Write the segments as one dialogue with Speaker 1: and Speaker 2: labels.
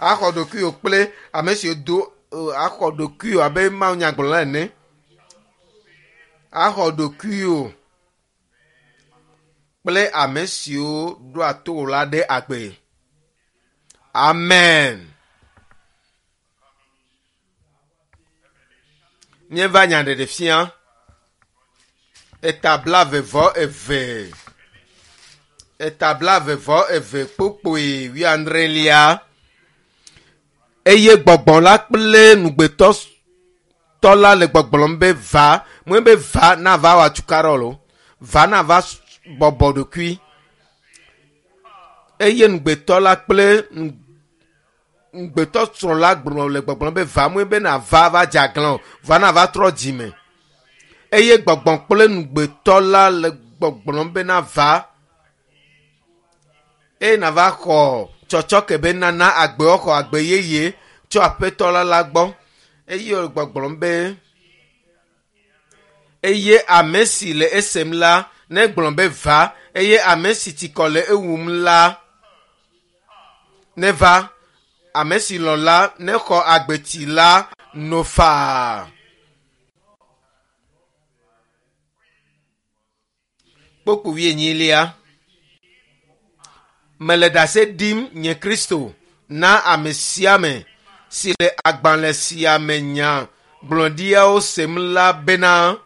Speaker 1: Axɔ ɖokuiwò kple ame siwo do axɔ ɖokuiwò abe Mawu nyagblɔla ene. Axɔ ɖokuiwò kple ame siwo ɖoa to wò la ɖe agbe. Amen. Míeva nyaɖeɖefia eta 22 eta 22 kpokpoe wuiadrelia eye gbɔgbɔ la kple nugbetɔ tɔ la le gbɔgblɔm be va mue be va nava wɔ atukaɖɔ lo va nava bɔbɔ ɖokui eye nugbetɔ la kple ŋugbetɔ srɔ̃ la gblɔ le gbɔgblɔm be va mue be nava va dze aglã o va nava trɔ dzime eye gbɔgbɔ kple nugbetɔ la le gbɔgblɔm be nava eye nava xɔ tsɔtsɔke be nana agbe xɔ agbe yeye tso aƒetɔ la la gbɔ eye wòle gbɔgblɔm be eye ame si le esem la negblɔ be va eye ame si tsikɔ le ewum la neva ame si lɔ̃ la nexɔ agbetsi la no faa. Kpokpo wuienyilia. Mele ɖase ɖim nye Kristo na ame sia ame si le agbalẽ sia me nya gblɔɖiawo sem la bena,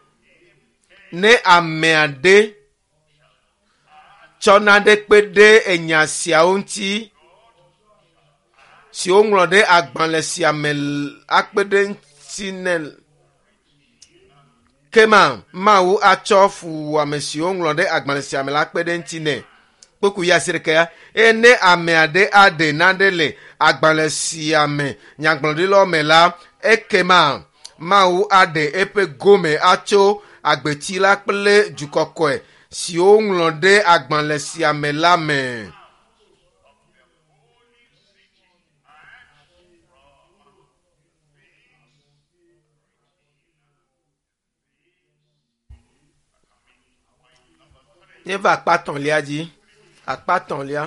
Speaker 1: ne ame aɖe tsɔ nane kpe ɖe enya siawo ŋuti si woŋlɔ ɖe agbalẽ sia me akpe ɖe ŋuti nɛ kema Mawu atsɔ fuwɔame si woŋlɔ ɖe agbalẽ sia me la akpe ɖe ŋuti nɛ. Kpokpu yi asi ɖeka ya. Eye ne ame aɖe aɖe nane le agbalẽ sia me nyagblɔɖilawo me la, ekema Mawu aɖe eƒe gome atso agbetsi la kple du kɔkɔe si woŋlɔ ɖe agbalẽ sia me la me. Míeva akpa tɔ̃lia dzi. Akpa tɔ̃lia.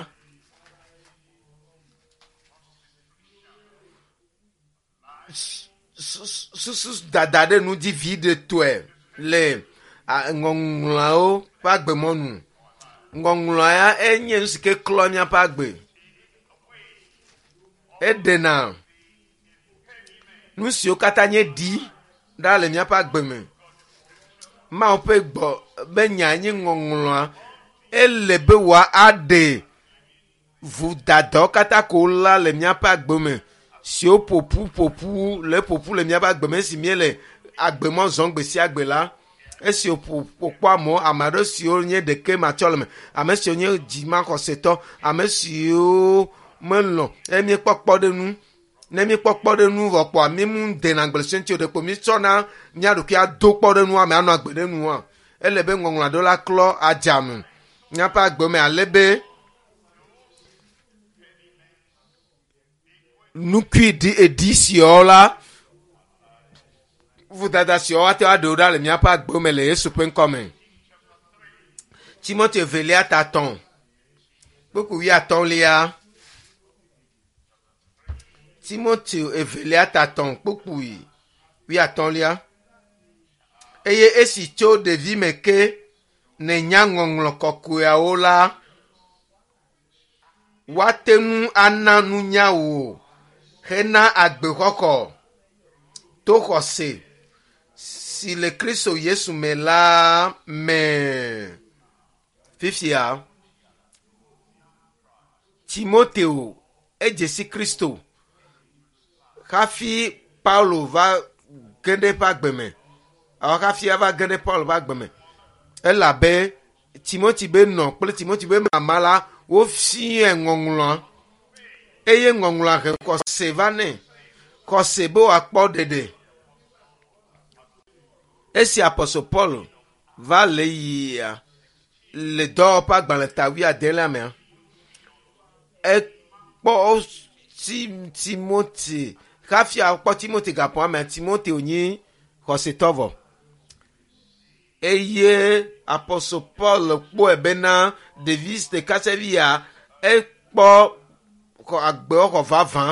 Speaker 1: Susu dada ɖe nu dzi viɖetɔe le ŋɔŋlɔawo ƒe agbemɔnu. Ŋɔŋlɔa ya enye nu si ke klɔ míaƒe agbe. Eɖena nu siwo katã nye ɖi ɖa le míaƒe agbe me. Mawu ƒe gbɔ be nya nye ŋɔŋlɔa ele be wòaɖe vodadawo katã ko la le míaƒe agbe me siwo ƒoƒu ƒoƒu le ƒoƒu le míaƒe agbe me esi míele agbemɔ zɔm gbe sia gbe la esi wòkpɔ amewo ame aɖewo siwo nye ɖeke matsɔleme ame siwo nye dzimaxɔsetɔ ame siwo melɔ̃ eye míekpɔ kpɔɖeŋu Ne míekpɔ kpɔɖeŋu vɔ kpɔa, mímu dena agble sue ŋuti o, ɖeko mítsɔna mía ɖokui ado kpɔɖeŋua me anɔ agbe ɖe nua. Ele be ŋɔŋlɔ aɖewo la klɔ adzame míaƒe agbe me ale be nukui ɖi eɖi siawo la vodada siawo ate ŋu aɖewo ɖa le míaƒe agbe me le Yesu ƒe ŋkɔ me. Timoteo evelia ta tɔ̃ kpukpui wuiatɔ̃lia. Timoteo evelia ta tɔ̃ kpukpui wuiatɔ̃lia. Eye esi tso ɖevime ke nènya ŋɔŋlɔ kɔkɔeawo la, woate ŋu ana nunya wò hena agbexɔxɔ to xɔse si le Kristo Yesu me la me. Fifia, Timoteo edze si Kristo hafi Paulo va ge ɖe eƒe agbe me. Alo hafi ava ge ɖe Paulo ƒe agbe me. Elabe Timothy be nɔ kple Timothy be mama la wofiae ŋɔŋlɔa eye ŋɔŋlɔa he xɔse va nɛ. Xɔse be wòakpɔ ɖeɖe. Esi Apostle Paul va le yia le dɔwɔƒe agbalẽ ta wuiadelia mea, ekpɔ Timothy hafi akpɔ Timothy gaƒoa mea, Timothy nyi xɔsetɔ vɔ. Eye Apostle Paul kpɔe bena ɖevi ɖeka ya ekpɔ agbe xɔ vavã.